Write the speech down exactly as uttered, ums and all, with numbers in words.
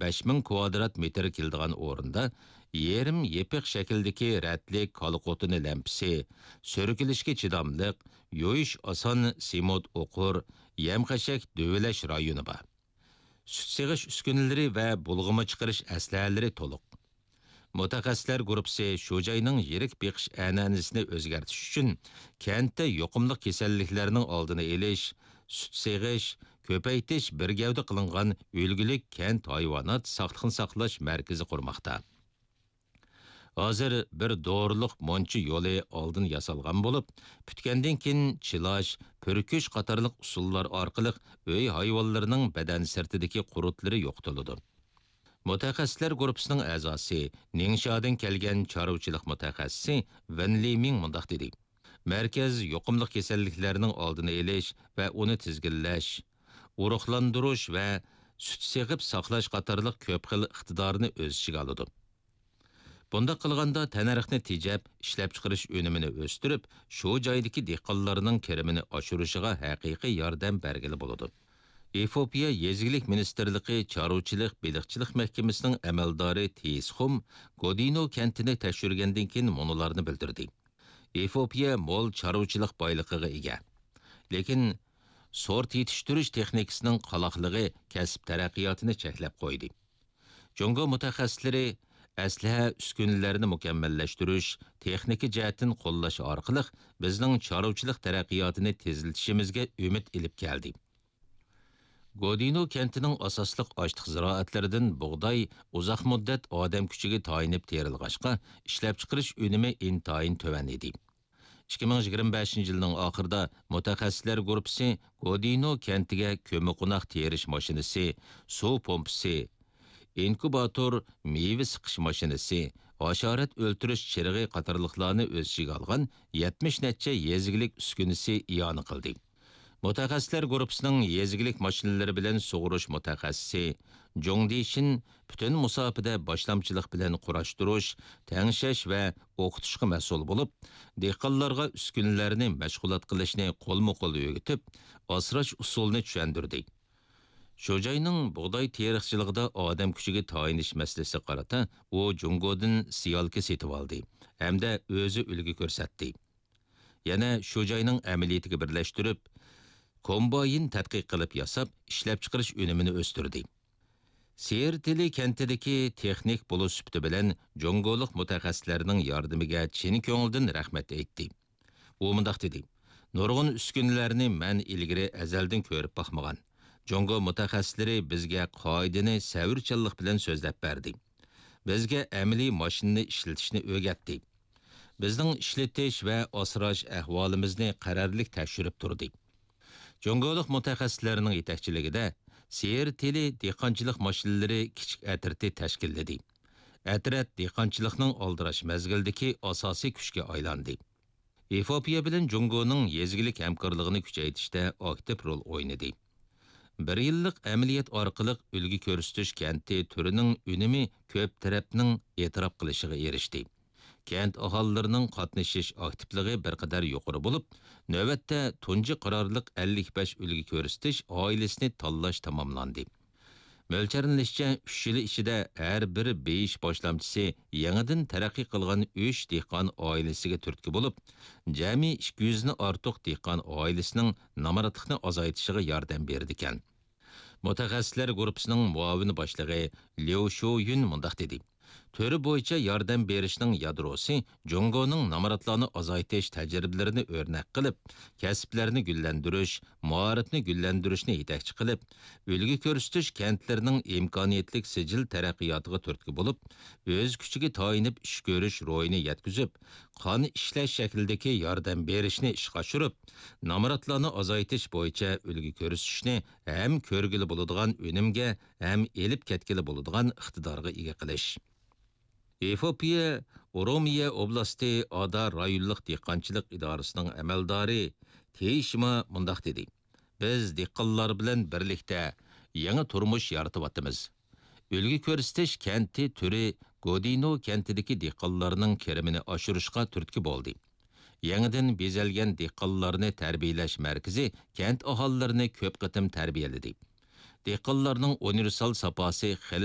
بەش مىڭ كۋادرات مېتىر كېلىدىغان ئورۇندا يېرىم يېپىق شەكىلدىكى رەتلىك كالا قوتۇنى لەمپىسى، سۈركىلىشكە چىداملىق، يۇيۇش ئاسان سېمونت ئوقۇر، يەم-خەشەك دۆۋىلەش رايونى بار. سۈت سېغىش ئۈسكۈنىلىرى ۋە بۇلغىما چىقىرىش ئەسلىھەلىرى تولۇق. مۇتەخەسسىسلەر گۇرۇپپىسى شۇ جاينىڭ يىرىك بېقىش ئەنئەنىسىنى ئۆزگەرتىش ئۈچۈن كەنتتە يۇقۇملۇق كېسەللىكلەرنىڭ ئالدىنى ئېلىش، سۈت سېغىش، كۆپەيتىش بىر گەۋدە قىلىنغان ئۈلگىلىك كەنت ھايۋانات ساقلىقنى ساقلاش مەركىزى قۇرماقتا. ھازىر بىر دورىلىق مۇنچا يولى ئالدىن ياسالغان بولۇپ، پۈتكەندىن كېيىن چىلاش، پۈركۈش قاتارلىق ئۇسۇللار ئارقىلىق ئۆي ھايۋانلىرىنىڭ بەدەن سىرتىدىكى قۇرتلىرى يوقىتىلىدۇ. مۇتەخەسسىسلەر گۇرۇپپىسىنىڭ ئەزاسى، نىڭشادىن كەلگەن چارۋىچىلىق مۇتەخەسسىسى ۋېن لىمىڭ مۇنداق دېدى: مەركەز يۇقۇملۇق كېسەللىكلەرنىڭ ئالدىنى ئېلىش ۋە ئۇنى تىزگىنلەش، ئۇرۇقلاندۇرۇش ۋە سۈت سېغىپ ساقلاش قاتارلىق كۆپ خىل ئىقتىدارنى ئۆز ئىچىگە ئالىدۇ. بۇنداق قىلغاندا تەننەرخنى تېجەپ، ئىشلەپچىقىرىش ئۈنۈمىنى ئۆستۈرۈپ، شۇ جايدىكى دېھقانلارنىڭ كىرىمىنى ئاشۇرۇشىغا ھەقىقىي ياردەم بەرگىلى بولىدۇ. ئېفىئوپىيە يېزا ئىگىلىك مىنىستىرلىقى چارۋىچىلىق بېلىقچىلىق مەھكىمىسىنىڭ ئەمەلدارى تېيىس خۇم گودىنو كەنتىنى تەكشۈرگەندىن كېيىن مۇنۇلارنى بىلدۈردى: ئېفىئوپىيە مول چارۋىچىلىق بايلىقىغا ئىگە. لېكىن سورت يېتىشتۈرۈش تېخنىكىسىنىڭ قالاقلىقى كەسىپ تەرەققىياتىنى چەكلەپ قويدى. جۇڭگو مۇتەخەسسىسلىرى ئەسلىھە، ئۈسكۈنىلەرنى مۇكەممەللەشتۈرۈش، تېخنىكا جەھەتتىن قوللاش ئارقىلىق بىزنىڭ چارۋىچىلىق تەرەققىياتىنى تېزلىتىشىمىزگە ئۈمىد ئېلىپ كەلدى. گودىنو كەنتىنىڭ ئاساسلىق ئاشلىق زىرائەتلىرىدىن بۇغداي ئۇزاق مۇددەت ئادەم كۈچىگە تايىنىپ تېرىلغاچقا، ئىشلەپچىقىرىش ئۈنۈمى ئىنتايىن تۆۋەن ئىدى. ئىككى مىڭ يىگىرمە بەشىنچى يىلنىڭ ئاخىرىدا مۇتەخەسسىسلەر گۇرۇپپىسى گودىنو كەنتىگە كۆممىقوناق تېرىش ماشىنىسى، سۇ پومپىسى، ئىنكۇباتور، مېۋە سىقىش ماشىنىسى، ھاشارات ئۆلتۈرۈش چىرىغى قاتارلىقلارنى ئۆز ئىچىگە ئالغان يەتمىش نەچچە يېزا ئىگىلىك ئۈسكۈنىسى ئىئانە قىلدى. مۇتەخەسسىسلەر گۇرۇپپىسىنىڭ يېزا ئىگىلىك ماشىنىلىرى بىلەن سۇغۇرۇش مۇتەخەسسىسى جۇڭ دىشىن پۈتۈن مۇساپىدە باشلامچىلىق بىلەن قۇراشتۇرۇش، تەڭشەش ۋە ئوقۇتۇشقا مەسئۇل بولۇپ، دېھقانلارغا ئۈسكۈنىلەرنى مەشغۇلات قىلىشنى قولمۇ قول ئۆگىتىپ، ئاسراش ئۇسۇلىنى چۈشەندۈردى. شۇ جاينىڭ بۇغداي تېرىقچىلىقىدا ئادەم كۈچىگە تايىنىش مەسىلىسىگە قارىتا ئۇ جۇڭگودىن سېيالكا سېتىۋالدى ھەمدە ئۆزى ئۈلگە كۆرسەتتى. يەنە شۇ جاينىڭ ئەمەلىيىتىگە بىرلەشتۈرۈپ، كومباين تەتقىق قىلىپ ياساپ، ئىشلەپچىقىرىش ئۈنۈمىنى ئۆستۈردى. سېيىرتېلى كەنتىدىكى تېخنىك بولۇش سۈپىتى بىلەن جۇڭگولۇق مۇتەخەسسىسلەرنىڭ ياردىمىگە چىن كۆڭۈلدىن رەھمەت ئېيتتى. ئۇ مۇنداق دېدى: نۇرغۇن ئۈسكۈنىلەرنى مەن ئىلگىرى ئەزەلدىن كۆرۈپ باقمىغان. جۇڭگو مۇتەخەسسىسلىرى بىزگە قائىدىنى، سەۋرچانلىق بىلەن سۆزلەپ بەردى. بىزگە ئەمەلىي ماشىنىنى ئىشلىتىشنى ئۆگەتتى. بىزنىڭ ئىشلىتىش ۋە ئاسراش ئەھۋالىمىزنى قەرەللىك تەكشۈرۈپ تۇردى. جۇڭگولۇق مۇتەخەسسىسلەرنىڭ يېتەكچىلىكىدە سېيىرتېلى دېھقانچىلىق ماشىنىلىرى كىچىك ئەترىتى تەشكىللىدى. ئەترەت دېھقانچىلىقنىڭ ئالدىراش مەزگىلدىكى ئاساسىي كۈچكە ئايلاندى. ئېفىئوپىيە بىلەن جۇڭگونىڭ يېزا ئىگىلىك ھەمكارلىقىنى كۈچەيتىشتە ئاكتىپ رول ئوينىدى. بىر يىللىق ئەمەلىيەت ئارقىلىق ئۈلگە كۆرسىتىش كەنتى تۈرىنىڭ ئۈنۈمى كۆپ تەرەپنىڭ ئېتىراپ قىلىشىغا ئېرىشتى. كەنت ئاھالىلىرىنىڭ قاتنىشىش ئاكتىپلىقى بىر قەدەر يۇقىرى بولۇپ، نۆۋەتتە تۇنجى قارارلىق ئەللىك بەش ئۈلگە كۆرسىتىش ئائىلىسىنى تاللاش تاماملاندى. مۆلچەرلىنىشىچە، ئۈچ يىل ئىچىدە ھەر بىر بېيىش باشلامچىسى يېڭىدىن تەرەققىي قىلغان ئۈچ دېھقان ئائىلىسىگە تۈرتكە بولۇپ، جەمئىي ئىككى يۈزدىن ئارتۇق دېھقان ئائىلىسىنىڭ نامراتلىقنى ئازايتىشىغا ياردەم بېرىدىكەن. مۇتەخەسسىسلەر گۇرۇپپىسىنىڭ مۇئاۋىن باشلىقى ليۇ شۇيۈن مۇنداق دېدى: تۈرى بويىچە ياردەم بېرىشنىڭ يادروسى جۇڭگونىڭ نامراتلارنى ئازايتىش تەجرىبىلىرىنى ئۆرنەك قىلىپ، كەسىپلەرنى گۈللەندۈرۈش، مائارىپنى گۈللەندۈرۈشنى يېتەكچى قىلىپ، ئۈلگە كۆرسىتىش كەنتلىرىنىڭ ئىمكانىيەتلىك سىجىل تەرەققىياتىغا تۈرتكە بولۇپ، ئۆز كۈچىگە تايىنىپ ئىش كۆرۈش روھىنى يەتكۈزۈپ، قان ئىشلەش شەكلىدىكى ياردەم بېرىشنى ئىشقا ئاشۇرۇپ، نامراتلارنى ئازايتىش بويىچە ئۈلگە كۆرسىتىشنى ھەم كۆرگىلى بولىدىغان ئۈنۈمگە، ھەم ئېلىپ كەتكىلى بولىدىغان ئىقتىدارغا ئىگە قىلىش. ئېفىئوپىيە ئورومىيە ئوبلاستى ئادا رايونلۇق دېھقانچىلىق ئىدارىسىنىڭ ئەمەلدارى تېيىشما مۇنداق دېدى: بىز دېھقانلار بىلەن بىرلىكتە يېڭى تۇرمۇش يارىتىۋاتىمىز. ئۈلگە كۆرسىتىش كەنتى تۈرى گودىنو كەنتىدىكى دېھقانلارنىڭ كىرىمىنى ئاشۇرۇشقا تۈرتكە بولدى. يېڭىدىن بېزەلگەن دېھقانلارنى تەربىيەلەش مەركىزى كەنت ئاھالىلىرىنى كۆپ قېتىم تەربىيەلىدى. دېھقانلارنىڭ ئۇنىۋېرسال ساپاسى خېلى